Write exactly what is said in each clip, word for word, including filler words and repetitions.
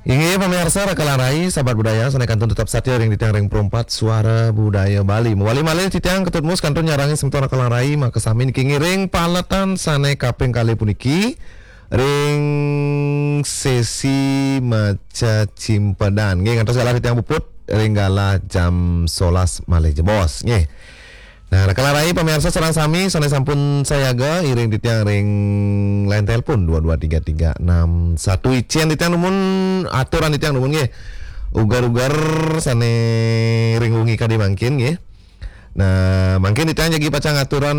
Inggih, pamirsa, Raka Larai, sahabat budaya, sané kantun tetep satia ring titiang ring Pro empat Suara Budaya Bali. Mawali malih titiang Ketut Mus kantun nyarengin semeton Raka Larai, makasami niki ngiring paletan sané kaping kalih puniki ring sesi maca cimpedan. Nggih, ngantos galah titiang puput ring galah jam solas malih jebos. Nggih. Nah, Raka Larai, pamirsa sareng sami sané sampun sayaga, iring titiang ring line telepon dua dua tiga tiga enam satu. Icén titiang dumun aturan titiang dumun nggih. Uger-uger sané ring wengi kadi mangkin nggih. Nah, mangkin titiang jagi pacang aturan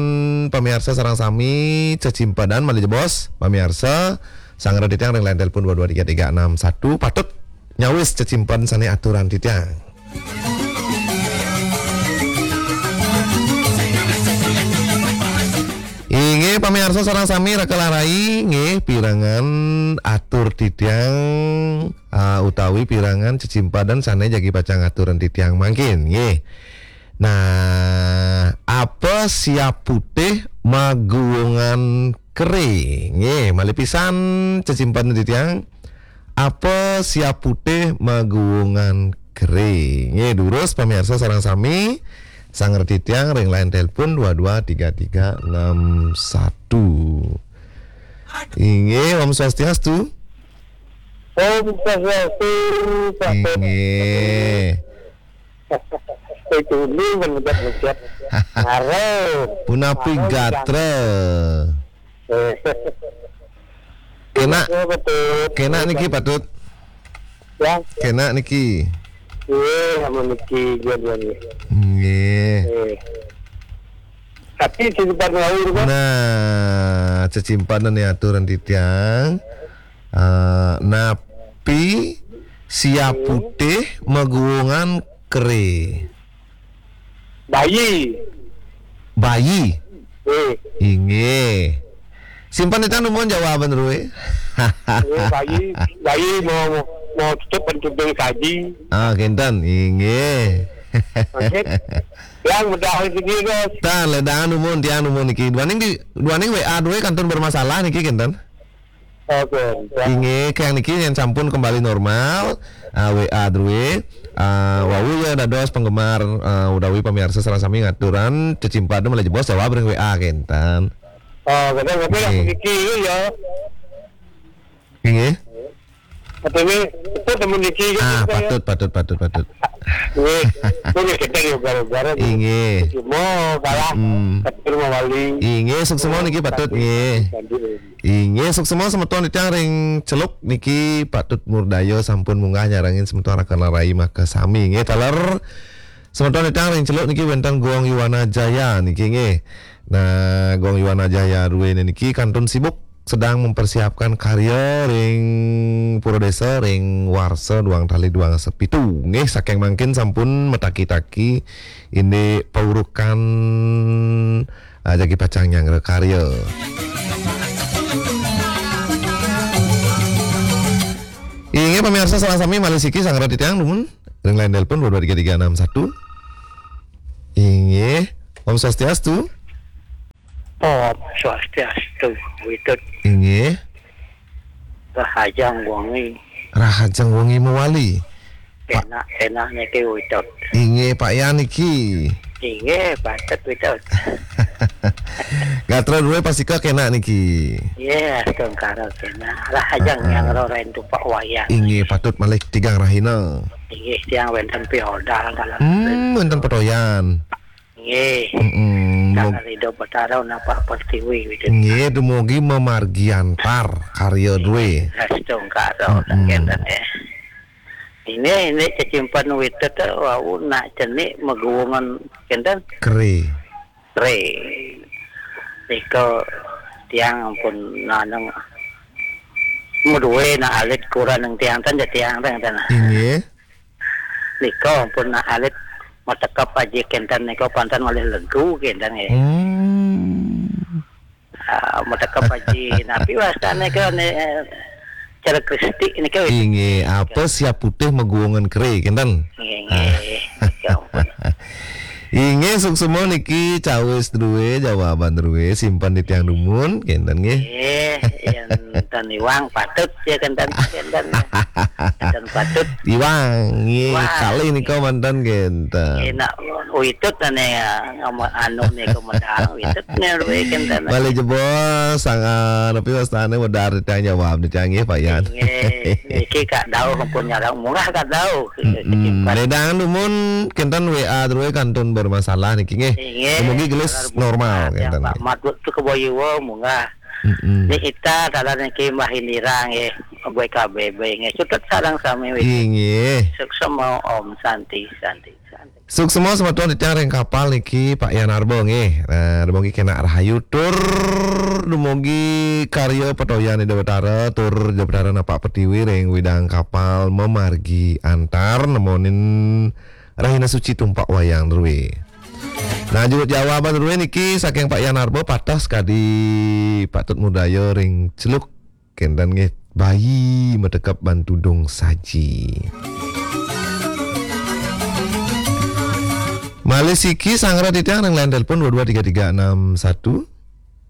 pamirsa sareng sami cecimpedan malih jebos. Pamirsa, sanggra titiang ring line telepon dua dua tiga tiga enam satu patut nyawis cecimpedan sané aturan titiang. Inggih, pamirsa sareng sami, Raka Larai nggih pirengang atur titiang, ah, utawi pirengang cecimpedan sané jagi pacang aturan titiang mangkin nggih. Nah, apa siap putih maguwungan keré? Nggih, malih pisan cecimpedan titiang. Apa siap putih maguwungan keré? Nggih, durus pamirsa sareng sami, sanggra titiang ring line telepon dua dua tiga tiga enam satu. Inggih, Om Swastiastu. Om Swastiastu, Pak Tut. Inggih. Itu ini mengucap-ucap. Haro. Punapi gatra? Eh. Kénak, Iya, betul. Kénak niki, Pak Tut. Ya. Kénak niki. Iya, sama niki, dua-duanya. Nggih. Eh. Tapi cecimpedan wau, Pak. Nah, cecimpedan aturan titiang. Eh, napi siap putih maguwungan keré? Bayi. Bayi. Eh. Inggih. Simpen titiang dumun jawaban drué. Eh, bayi, bayi mau, mau tutup bentuk dari kaji. Ah, kénten. Inggih. Oke. Yang mudah sendiri, Bos. Tan, ledangan dumun, tiang dumun niki. Duaning di, duaning W A drué kantun bermasalah niki, kénten. Oke. Inggih, kang niki yén sampun kembali normal, ah, W A drué, ah, wau ya dados penggemar, ah, utawi pamirsa sareng sami ngaturan cecimpedan malih jebos jawab ring W A kénten. Oh, betul, betul, nggih. Niki ya. Inggih. Katanya, itu temen niki, ah, gitu, ya. Patut, patut, patut, patut. Nggih, itu nih kita ya gara-gara gitu. Inggih. Cuma kalah, mm-mm, tapi rumah wali. Inggih, suksma niki patut, nggih. Inggih, suksma semeton titiang ring Celuk niki patut murdaya sampun munggah nyarengin semeton Raka Larai makasami. Nggih, taler semeton titiang ring Celuk niki wénten Gong Yuwana Jaya niki nggih. Nah, Gong Yuwana Jaya druéné niki kantun sibuk sedang mempersiapkan karya ring Pura Désa ring warsa duang tali duang dasa pitu. Nggih, saking mangkin sampun mataki-taki indik paurukan, ah, jagi pacang nyanggra karya. Inggih, pamirsa sareng sami malih siki sanggra titiang dumun ring line telepon dua dua tiga tiga enam satu. Inggih. Om Swastiastu. Om Swastiastu, Witut. Inggih. Rahajeng wengi. Rahajeng wengi mawali. Pak. Enak, enak niki, Witut. Inggih, Pak Yan niki. Inggih, patut, Witut. Gatra drué pastika kénak niki. Inggih, astungkara kénak. Rahajeng, heeh, nyanggra ring tupak wayang. Inggih, patut malih tigang rahina. Inggih, tiang wénten piodal dalam. Hmm, wénten petoyan. Nggih. Mm-mm. Tangan Ida Betara napak pertiwi, gitu. Nggih, dumugi mamargi antar karya drué. Astungkara, mm-mm, kénten, ya. Ini, ini cecimpedan Witut, wau nak cenik maguwungan kénten. Keré. Keré. Nika tiang ampun naneng madué nak alit kurang tiang ten, ya tiang ten, ten. Inggih. Nika ampun alit matekep aji kénten nika panten malih legu kénten nggih. Hmm. Ah, matekep aji napi wastané nika né, eh, cara Kristi nika wis. Inggih, apa siap putih maguwungan keré kénten? Nggih, nggih. Ah. Nika ampun. Inggih, suksma niki cawis drué, jawaban drué, simpen titiang dumun, kénten nggih. Nggih, yén ten iwang patut ya kénten, kénten. Ten patut. Iwang, nggih, Iwang. Kalih nika manten kénten. Enak, uitut ané, ngomong anu nika medal, uitut né drué kénten. Malih jebos, sang, ah, napi wastané wedar titiang jawab titiang nggih, Pak Yan. Nggih, niki Kak Dauh pun nyarang murah Kak Dauh. Mm-mm. Simpen. Ledang dumun kénten W A drué kantun bermasalah niki nggih. Inggih. Dumugi gelis Saudara normal Bupati, kénten Pak nggih. Mat Lutfi Keboyiwo munggah. Mm-mm. Ni Ita dalan niki Mbah Indira nggih. B K B B nggih. Cutet sareng sami wiki. Inggih. Suksma Om Santi, Santi, Santi. Suksma semeton titiang ring kapal niki Pak Yan Arba nggih. Nah, dumugi kénak rahayu tur dumugi karya patoyan Ida Betara tur Ida Betara napak pertiwi ring widang kapal mamargi antar nemonin rahina suci tumpak wayang drué. Nah, jurut jawaban drué niki saking Pak Yan Arba pateh sakadi patut mudaya ring celuk kénten nggih, bayi matekep ban tudung saji. Malih siki sanggra titiang ring line telepon dua dua tiga tiga enam satu.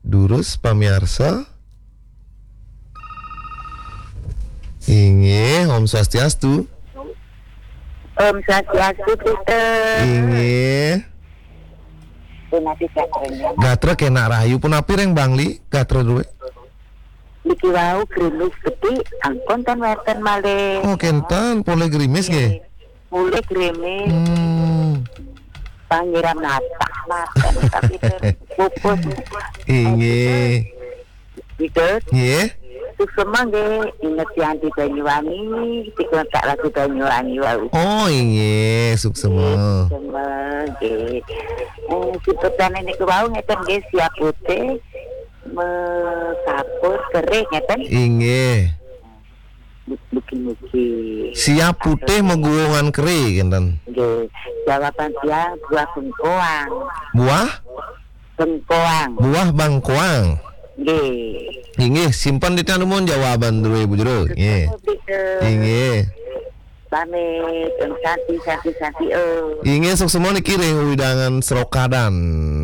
Durus pamiarsa. Inggih, Om Swastiastu. Om Swastiastu, Peter. Inggih. Punapi gatranya? Gatra kénak rahayu, punapi ring Bangli, gatra drué? Niki wau grimis gedé, angkon ten wénten malih. Oh, kénten, polih grimis nggih. Polih grimis. Hmm. Pangiram natah maten, tapi ten pupus. Inggih. Gitu. Nggih. Suksma nggih, inget Yanti Banyuwangi, dikontrak lagu Banyuwangi wau. Oh, inggih, suksma. Suksma nggih. Eh, siputane niku wau ngeten nggih, siap putih, mekapur, kering ngeten. Inggih. Mugi-mugi. Siap putih meguungan keri ngeten. Nggih. Jawaban tiang buah bengkoang. Buah? Bengkoang. Buah bangkoang. Nggih. Inggih, simpen titiang dumun jawaban drué Bu Jero. Nggih. Betul. Inggih. Pamit, Om Santi, Santi, Santi, Om. Inggih, suksma niki ring wewidangan Serokadan.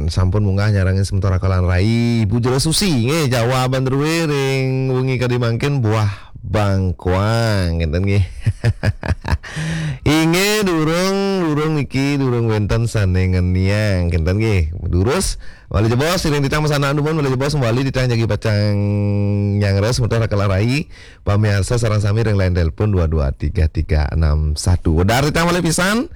Sampun munggah nyarengin semeton Rakalan Rai, Bu Jero Susi. Nggih, jawaban drué ring wengi kadi mangkin buah bangkoang, ngeten nggih. Inggih, durung, durung niki, durung wénten sané ngeniang, ngeten nggih. Durus, malih jebos, siring titiang masandekan dumun, malih jebos, malih titiang jagi pacang nyanggra semeton Rakalan Rai. Pamiarsa sareng sami ring line telepon dua dua tiga tiga enam satu. Wedar titiang malih pisan.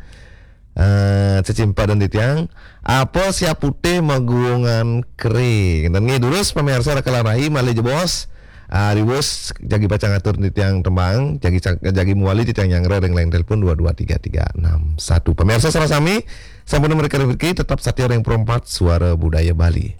Eh, cecimpadan titiang. Apa siap putih maguungan keri. Ngeten nggih, durus pamiarsa Rakalan Rai malih jebos. Ah, riwus jagi pacang atur titiang tembang, jagi cak-, jagi muali titiang nyanggra ring line telepon dua dua tiga tiga enam satu. Pamiarsa sareng sami, sampun mriki tetep satia ring Pro empat Suara Budaya Bali.